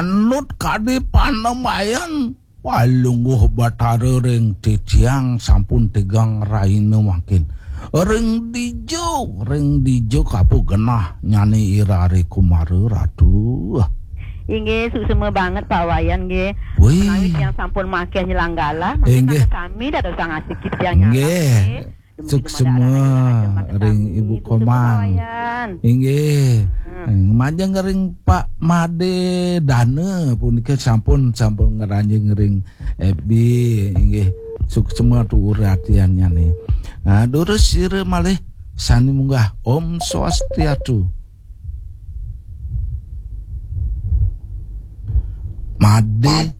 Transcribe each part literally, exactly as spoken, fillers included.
Nut kadi panembayan. Walungguh Batara ring titiang sampun tigang raina mangkin. Ring dija, ring dija kapu genah nyane irare Kumara Ratu. Inggih, suksma banget Pak Wayan nggih. Wih. Menawi tiang sampun makéh nyelang galah, mangkin inggih, sami dados sangasiki tiang nyalah, inggih, nggih. Suksma ring Ibu Komang. Inggih. Hmm. Majeng ring Pak Made Dana punika sampun, sampun ngranjing ring F B, inggih. Suksma tuur atiannyane. Nah, durus sira malih sane munggah. Om Swastiastu. Made.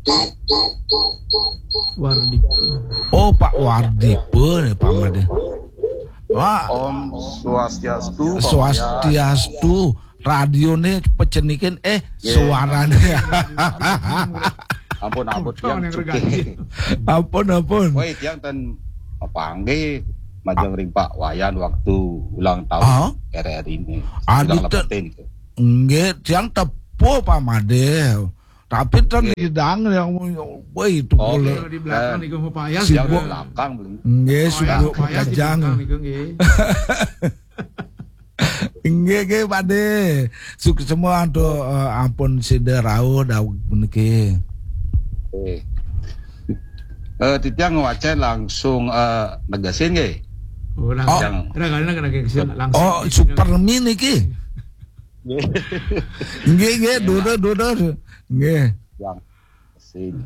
Wardipa. Oh, Pak Wardipa nih, Pak Made. Pak. Om Swastiastu, Pak Swastiastu. Radione pecenikin, eh, suarane. Ampun, ampun, tiang cukup. Ampun, ampun. Woi, tiang ten panggih majeng ring Pak Wayan waktu ulang tahun R R I ini. Adi ulang ten lepetin itu. Nggih, tiang tepuh Pak Made. Tapi ten didang yang, woi, itu. Oke. Kalau di belakang niku Pak Wayan. Sibuk. Di belakang, belum. Nggih, sibuk Pak Wayan di belakang niku, nggih. Inggih, nggih, Pakde. Suksma antuk, eh, ampun sida rauh daweg puniki. Eh. Eh, titiang ngwacén langsung, eh, negesin nggih. Oh, langsung. Oh. Kadang-kadang kena negesin langsung. Oh, Supermi niki. Nggih. Nggih, nggih, dudur, dudur. Nggih. Yang sing.